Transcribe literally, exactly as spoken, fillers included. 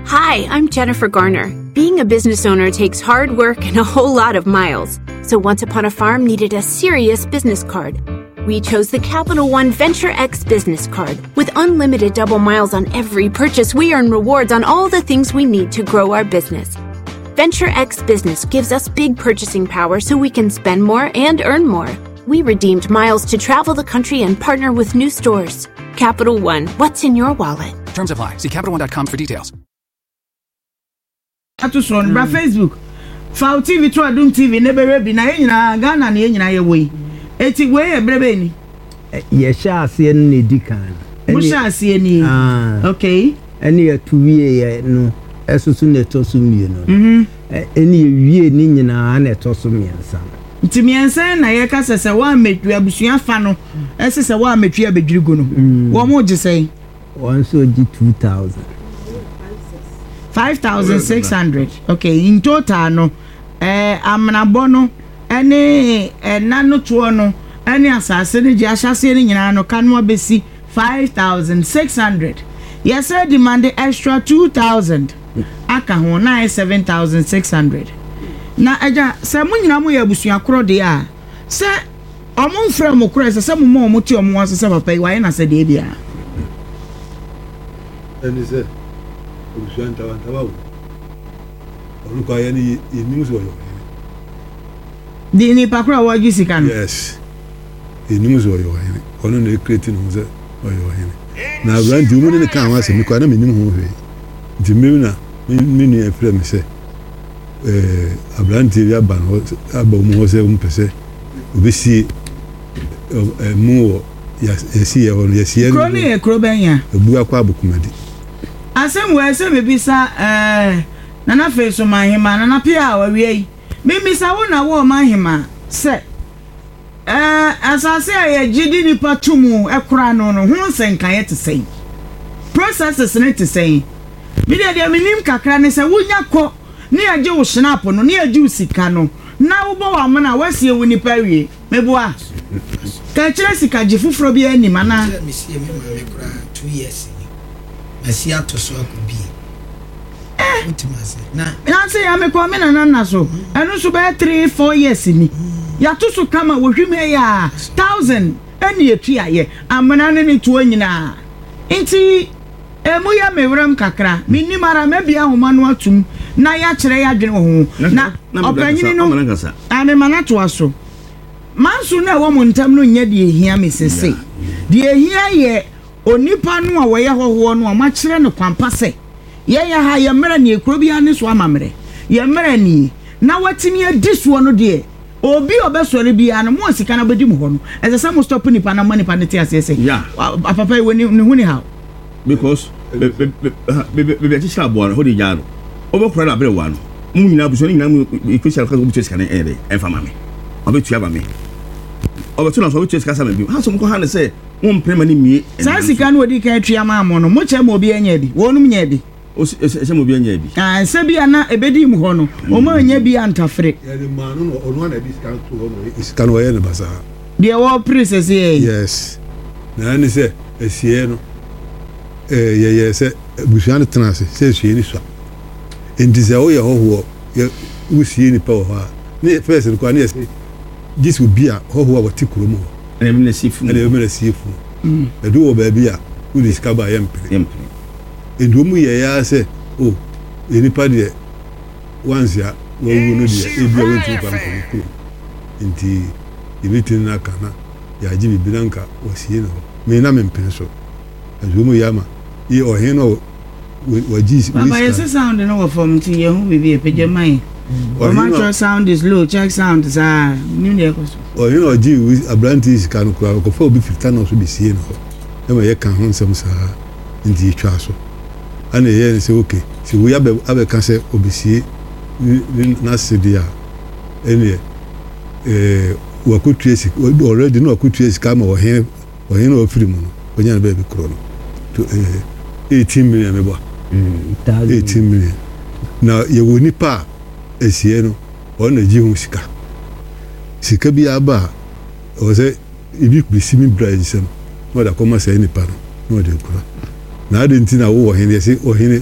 Hi, I'm Jennifer Garner. Being a business owner takes hard work and a whole lot of miles. So Once Upon a Farm needed a serious business card. We chose the Capital One Venture X business card. With unlimited double miles on every purchase, we earn rewards on all the things we need to grow our business. Venture X Business gives us big purchasing power so we can spend more and earn more. We redeemed miles to travel the country and partner with new stores. Capital One, what's in your wallet? Terms apply. See Capital One dot com for details. Ato soɔ no, bra Facebook, fa wo T V to Adum T V ne bɛhwɛ bi na yɛn nyinaa Ghana na yɛn nyinaa yɛwɔ yi. Eti wei yɛ berɛ bɛyɛ ni? Yɛhyɛ aseɛ no na ɛdi kan no. Mo hyɛ aseɛ ni? Ah. Okay. Ɛne yɛto wieɛ no ɛso so na ɛtɔ so mmienu no. Mhm. Ɛ- ɛne yɛwie ne nyinaa na ɛtɔ so mmiɛnsa no. Nti mmiɛnsa na yɛka sɛ sɛ wɔamɛtwi abusua fa no, ɛsɛ sɛ wɔamɛtwi abɛdwiri gu no, wɔn mo gye sɛn? Wɔn nso gye two thousand. Five thousand six hundred. Okay, in total no, ɛɛ amenabɔ no ɛne ɛna no toɔ no ɛne asase no gye ahyɛseɛ no nyinaa no ka no abɛsi five thousand six hundred. Yɛsɛ demand extra two thousand aka ho na ayɛ seven thousand six hundred. Na ɛgya sɛ mo nyinaa mo yɛ abusua korɔ deɛ a, sɛ ɔmo nfrɛ mo korɔ, ɛsɛ sɛ mo ma ɔmo te ɔmo ho ase sɛ papa yi wayɛ n'asɛdeɛ biara. Ɛne sɛ abusua ntawantawa wo ɔno kɔ ayɛ no, yɛnim sɛ ɔyɛ ɔhene. De nipa korɔ a wɔgye sika no? Yes, yɛnim sɛ ɔyɛ ɔhene. Ɔno na ɛkreti ne ho sɛ ɔyɛ ɔhene na aberante mu ne ne ka ho asɛm kɔ na menim ho hwee. Nti mmemme na me nua frɛ me sɛ ɛɛ aberanteɛ bi aba no aba mu hɔ sɛ ɔmpɛ sɛ obɛsie ɛmu wɔ yɛsi yɛ hɔ no, yɛsi yɛ. Kuro no yɛ kuro bɛn ya? Ebu akɔ Abokomadi. Asɛm wɔ ɛsɛ mebisa ɛɛ Nana afei so mahema Nana Pia a wawie yi, mimisa wo na wo ɔmahema sɛ ɛɛ asase a yɛgye di nipa to mu ɛkora no no ho nsɛnkaeɛ te sɛn? Processes ne te sɛn? Mi deɛ deɛ menim kakra ne sɛ wonya kɔ ne yɛgye wo snap no ne yɛgye wo sika no na wobɔ w'amena a wasie wo nipa awie. Meboa ka kyerɛ sika gye foforɔ bi anim anaa? Kyerɛ mesie me maame koraa two years ni, masi ato so akɔ bie. Wotumi ase na Nansi ya mekɔ me nana nna so, ɛno nso bɛyɛ three four years ni, yɛato so kama wɔhwim yɛ a thousand ɛne etu ayɛ amena ne ne toɔ nyinaa. Nti emu yɛ me werɛm kakra, menim ara mɛbia ahoma no atum na yɛakyerɛ yɛ adwene wɔ ho na ɔpanyini no amema no atoa so. Manso no a ɛwɔ mo ntam no nyɛ deɛ ehia me sese. Deɛ ehia yɛ onipa no a wɔyɛ hɔhoɔ no a moakyerɛ no kwampa sɛ yɛyɛ ha, yɛ mmerɛ nie, kuro biara ne so amammerɛ, yɛ mmerɛ nie na watumi adi soɔ no deɛ, obi a ɔbɛsɔre biara no mo a sika no bɛdi mu hɔ no, ɛsɛ sɛ mo stop nipa na mo nipa no te aseɛ sɛ Yeah. apapa yi wɔ ne ne ho ni haw. Because baabi akyekyere aboa no hɔ de gyaa no, wobɛkora no aberɛ wa no mu nyinaa, abusua no nyinaa mu ɛkɔhyia no, wobɛtua sika no ɛyɛ dɛ ɛmfa ma me, ɔbɛtua ma me, ɔbɛto no so ɔbɛtua sika sa ma bi ha so mokɔ ha ne sɛ wompere ma no mmie. Saa sika no odi kan atua maa mo no, mo kyɛ ma obi anya bi, wɔnom nya bi? Ɛsɛ ma obi anya bi. Ah, sɛ bi a na ebedi mu hɔ no, wɔn anya bi antafere. Yɛde maa no na ɔno ana de sika no to hɔ no, sika no ɔyɛ no basaa. Deɛ wɔpere sɛsɛ yɛ. Yes, na ɛne sɛ asie no ɛɛ yɛyɛ sɛ abusua no tena ase sɛ asie no sua, nti sɛ woyɛ hɔhoɔ yɛ wosie nipa wɔ hɔ a, ne first no koraa ne yɛ sɛ gye sɛ obi a hɔhoɔ a wɔte kurom hɔ ɛna ɛbɛma no sie funu. Ɛna ɛbɛma no sie funu. Ɛdu wɔ baabi a wode sika ba a, yɛmpene. Yɛmpene. Nti wɔn mu yɛ ya sɛ o yɛ nipa deɛ once a wawu no deɛ, ebi a wɔntumi fa nkɔ ne kurom, nti yɛbɛtumi no aka na yɛagye biribi na nka wɔsie no hɔ. Me na mempene so, nti wɔn mu yɛ ama yɛ ɔhen no a wagye. Papa, yɛsɛ sound no wɔ fam nti yɛn ho biribi apagya ma yɛn. Ɔma kyerɛ sound is low, check sound saa nim deɛ ɛkɔ so. Ɔhen a ɔgye aberante sika no koraa, ɔkɔfa obi firi tano so bɛsie no hɔ ɛma yɛka ho nsɛm saa, nti yɛtwa so ɛna yɛyɛ no sɛ okay, sɛ wei abɛ abɛka sɛ ɔbɛsie n'ase deɛ a, ɛneɛ ɛɛ wakɔtua sika already na wakɔtua sika ama ɔhen ɔhen a ɔfiri mu no, ɔnya no baabi korɔ no to ɛɛ eighteen million mebɔ eighteen million. Na yɛwɔ nipa a esie no, ɔno na gye ho sika sika bi aba a ɔwɔ sɛ ebi besi mi bra nsam na ɔde akɔma saa nipa no na ɔde akura. Na adi nti na wowɔ ɔhene, yɛsɛ ɔhene.